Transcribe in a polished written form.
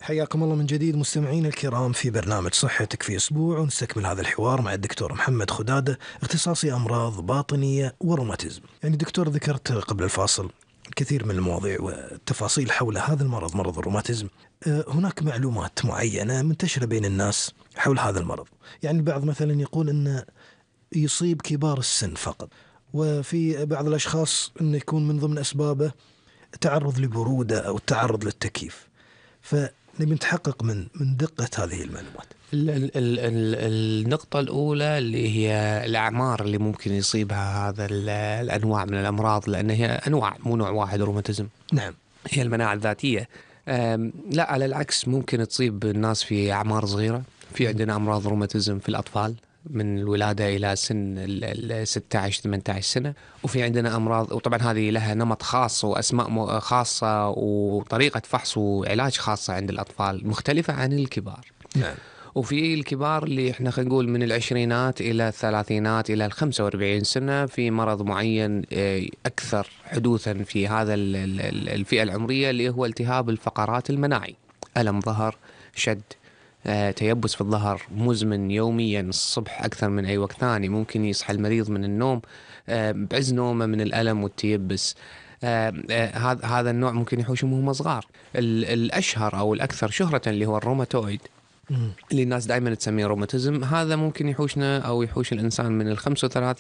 حياكم الله من جديد مستمعين الكرام في برنامج صحتك في أسبوع، ونستكمل هذا الحوار مع الدكتور محمد خدادة، اختصاصي أمراض باطنية وروماتيزم. يعني دكتور، ذكرت قبل الفاصل كثير من المواضيع والتفاصيل حول هذا المرض، مرض الروماتيزم. هناك معلومات معينة منتشرة بين الناس حول هذا المرض. يعني البعض مثلا يقول أنه يصيب كبار السن فقط، وفي بعض الأشخاص أنه يكون من ضمن أسبابه تعرض لبرودة أو التعرض للتكييف. فنبي نتحقق من دقة هذه المعلومات. النقطة الأولى اللي هي الأعمار اللي ممكن يصيبها هذا الأنواع من الأمراض، لأن هي أنواع مو نوع واحد روماتيزم. نعم. هي المناعة الذاتية. لا، على العكس ممكن تصيب الناس في أعمار صغيرة. في عندنا أمراض روماتيزم في الأطفال من الولادة إلى سن 16-18 سنة، وفي عندنا أمراض، وطبعا هذه لها نمط خاص وأسماء خاصة وطريقة فحص وعلاج خاصة عند الأطفال مختلفة عن الكبار. نعم. وفي الكبار اللي احنا خلينا نقول من العشرينات إلى الثلاثينات إلى 45 سنة في مرض معين أكثر حدوثا في هذا الفئة العمرية، اللي هو التهاب الفقرات المناعي. ألم ظهر، شد، تيبس في الظهر مزمن يوميا الصبح أكثر من أي وقت ثاني. ممكن يصحى المريض من النوم بعز نومه من الألم والتيبس. هذا النوع ممكن يحوشهم وهم صغار. الأشهر أو الأكثر شهرة اللي هو الروماتويد، اللي الناس دائما تسميه روماتيزم. هذا ممكن يحوشنا أو يحوش الإنسان من 35